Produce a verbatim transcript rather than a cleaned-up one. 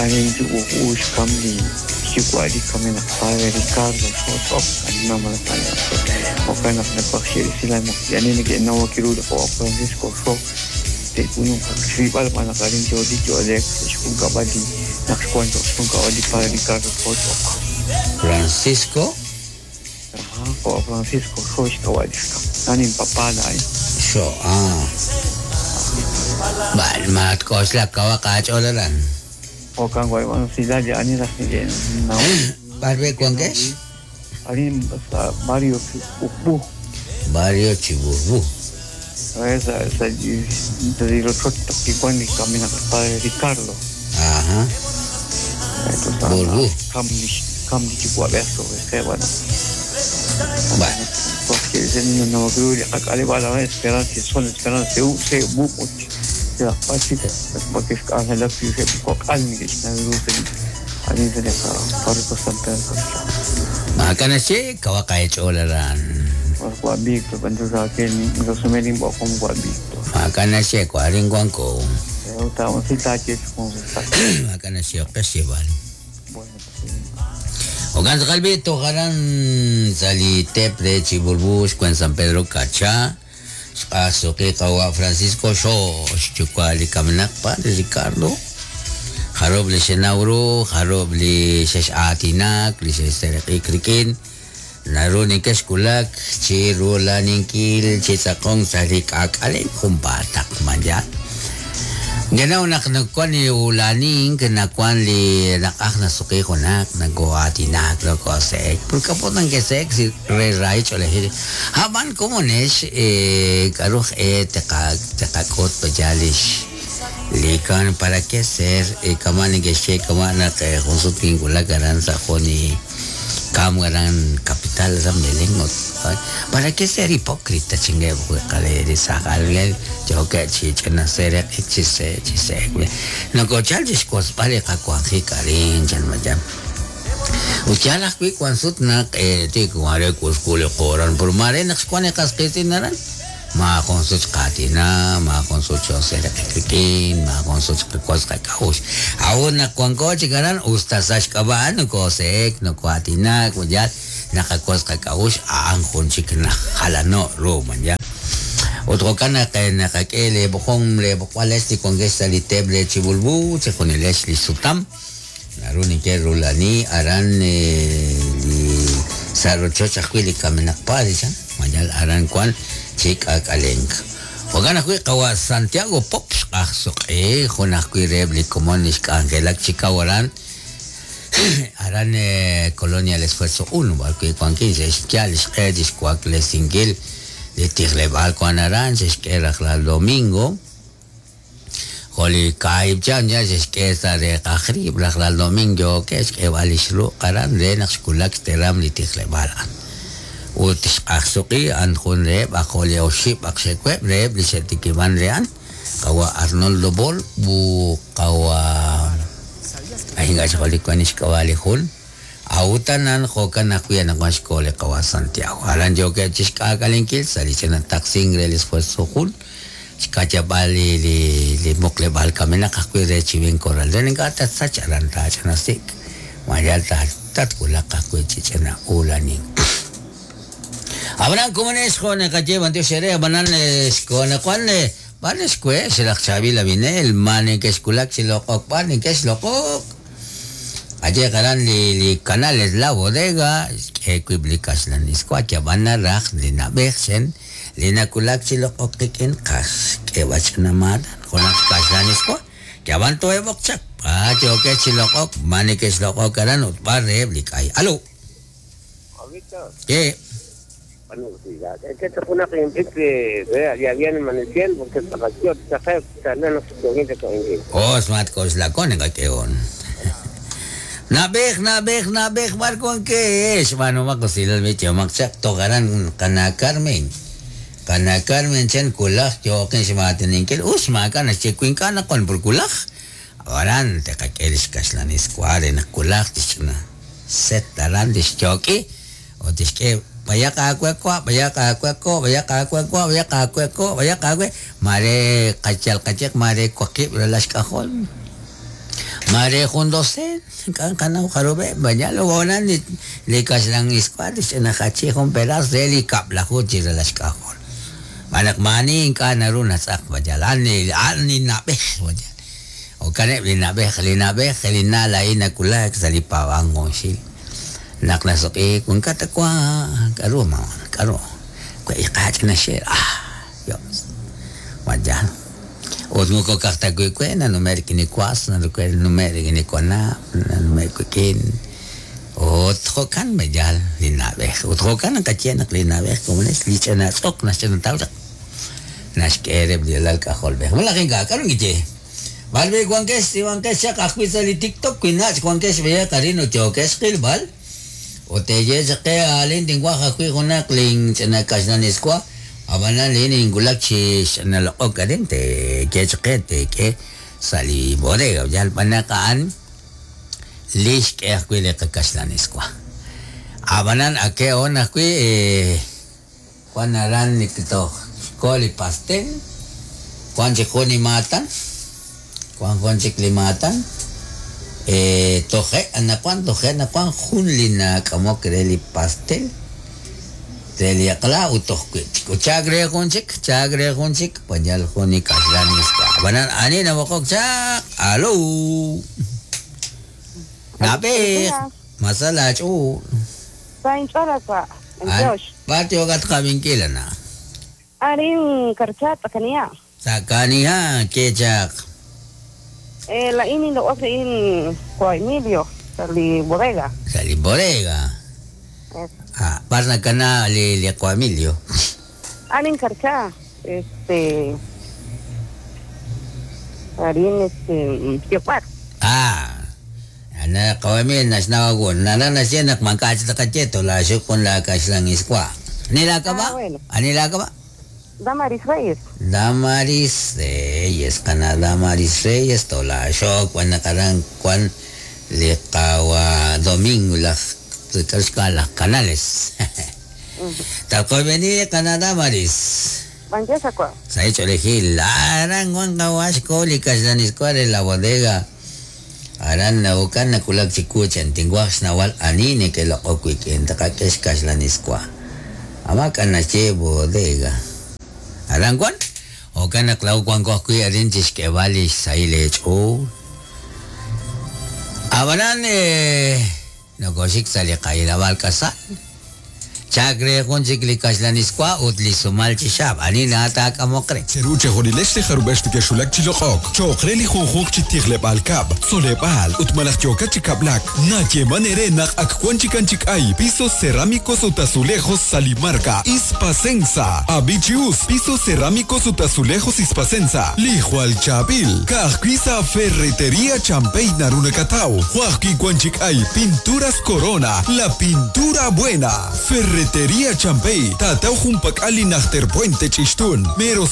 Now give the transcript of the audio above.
Arin kamli chikwali kamina padre Ricardo Soto anima okana na sila mo yani ni no quiero o Francisco So te uno sibal para karin yo dicho Alex shkunkabali nakshkuanto shkunkabali padre Ricardo Soto Francisco Ajá, o Francisco So shkawaliska anin papá la So ah Bal mat kosla kawa kacholaran Okan guay bueno si la ya ni las ni no Barbe cuanques Arin Mario Ubu Barrio Chibubu esa esa de los otros que cuando camina padre Ricardo ajá Burbu Kamni kamni chihuabeso ese bueno bueno porque ese niño no creo que acá le va a la esperanza son esperanza u se bu la pachita porque es que la que almi ani se le farco San Pedro Makanasi kawakay cholaran Juan Víctor cuando saqué resumen con Juan Víctor Makanasi kwarin guanco Estamos con Makanasi okasiban Ogan kalbito karan sali tepre Chibulbus kwen San Pedro Cacha Asuki kawa Francisco So chukwali kaminak pa Ricardo Harob li Shenauro Harob li Sheshatinak li Sheserekikrikin Narunin keskulak Chirulaninkil Chisakong sarikakaling kumbatak man yan Ganaw nak nagkwan ni ulaning kinakwan li nakak nasuki ko nak nagwatinak nagkosek pagkapot ng kesek si re-right olehi haban kumunesh eh karuh eh teka tekakot pajalish likan para que ser eh kaman geshe kaman nak konsulting kulagaran sa koni kamgaran capital sa melengot para que ser hipócrita chingue kale de sakalge yo que chichena ser chise chise no cochal discos pare ka kwanji karin chan majam uchala kwi kwansut na eh ti kware kuskule koran por mare nak kwane kasqitinaran ma konsuch katina ma konsuch ser krikin ma konsuch kwas kaus aun na kwanko chikaran ustasash kaban no kosek no kwatina kuyat nakakwas kakaus ang kunchik na halano roman ya otro kana que nakakele bokong le bokwales ti kongesa li teble chibulbu chekoniles li sutam naruni ke rulani aran li sarochocha kwili kamenak padichan mayal aran kwan chik akaleng Ogana kwi kawa Santiago Pops ahsuqi junaj kwi rebli komonish angelak chikawaran aran Colonia el Esfuerzo uno barkwi kwankin xkyal xqedish kwakle singil li tijlebal kwan aran xk'eraj la domingo joli kaib chan ya xk'esa de qajrib raj la domingo ke xk'ebal ixru qaran de naq xkulak teram li tijlebal utixqajsuqi an jun reb ajoli oxib aqxekweb reb li xetikiban rean kawa Arnoldo Bol bu kawa ahinga xoli kuanish kawali jun autanan jokan akuyan akuashkole kawa Santiago aran yo que chixk'akalinkil salichena taxing el esfuerzo jun xkachabali li li moklebal kamenaq ajwi re chiven corral denenka tatsach aran tachanasik mayal tatkulaq ajwi chichena ulanin Abraham komunes con el calle bandio sere banan con cuan banes que se la chavi la vinel mane que esculak si lo pan que es loco ayer garan li li canales la bodega que publicas la niscuacha van a raj li na bersen li na kulak si lo ken kas que bachna mad con las kas la niscua que van to ebokchak pa yo que si lo mane que es loco garan utbarre blikay aló ¿Qué? Es que esto fue una que ya viene amaneciendo porque Oh, smart cos la con que on. Nabej, nabej, nabej, barco que es, bueno, makosil el bicho, maxak togaran kana Carmen. Kana Carmen chen kulaj, yo que se mateninkel usma kana chequin kana con por kulaj. Aran te kakelis kaslan escuadra en kulaj tichna. Set taran dischoki o tisque Bayaq awe kwa, bayaq awe ko, bayaq awe kwa, bayaq awe ko, bayaq awe. Mare kachal kachek, mare kwakib ralash kahol. Mare jun doce, kan kanaw karube, banyalo wonan li li kaslang iskwat, nahachi jun peras de li kaplahu chiralash kahol. Manak mani ka naru nasak banyal, ani ani nabeh banyal. O kaneb li nabeh, li nabeh, li nala ina kulak sa li pawangong sil. Naklasok eh, kung katakwa, karo ma, karo. Kwa ikach na siya, ah, yos. Banyal. Ut mo ko kaktagoy ko na numer kinikwas na numer numer kinikwana na numer kukin. Ut hokan banyal linabeh. Ut hokan ang katyenak linabeh kumunis licha na sok na siya ng tawag. Nashkereb dilal kahol beh. Malaking ka karong gije. Balbe guangkes iwangkes siya kakwi sa li TikTok kwinach guangkes beya karino chokes kilbal. O teye sa ke alin tingwa kakwi kunak ling chanakas na niskwa. Abanan lin ingulak chi nalokok ka din te ke chake te ke sali bodega yal panakaan lish ke akwi le kakas na niskwa. Abanan ake on akwi eh kwan naran ni kito koli pastel kwan si kuni matan kwan kwan si klimatan eh toje anakwan toje anakwan junli na kamo kreli pastel Teliakla utoh kwit chagre kunchik chagre kunchik panyal kuni kaslanis ka banan ani na wakok chak alo nape masala chu Sain cholasa Josh patio gat kaming kila na arin karchat kaniya sa kaniya kechak eh la ini lo hace in ko Emilio sa li bodega sa li bodega. Ah, parna kana li li ko Emilio. Arin karcha, este arin este tiopat. Ah. Ana ko Emilio nas nawagun. Nana na siya nakmangkach ta kacheto la sukon la kaslang iskwa. Nila ka ba? Ah, bueno. Anila ka ba? Damaris Reyes. Damaris Reyes kana Damaris Reyes to la shok wan nakarang kwan li kawa Domingo la las canales. Talko venir Canadá Maris. Banjesa kwa. Sa hecho elegir aran Juan Kawash kolikas la niscuare la bodega. Aran na ukan na kulak chikuchan tinguax nawal anine que lo okwik en takakesh kas la niscua. Ama kana che bodega. Aran Juan o kana klau Juan kokui arin chishke vali saile cho. Abanan eh Nagosik sa likay lawal kasal. Chagre kung siklikas la niskwa utli sumal chishab. Ani natak amokre. Cheruche jorilesh jarubesh keshulak chiloqok. Choqreli junjuq chitirlebal kab. Solebal utmalaq choka chikablak. Nache manerenak akwanchikanchik ay. Pisos cerámicos utazulejos salimarca. Ispasensa. Abichius. Pisos cerámicos utazulejos Ispasensa. Lijual Chabil. Kajquisa Ferretería Champey Narunacatau. Juajki Cuanchic ay. Pinturas Corona. La pintura buena. Ferretería Champey. Tatau Jumpak Ali Nachter Puente Chistun. Mero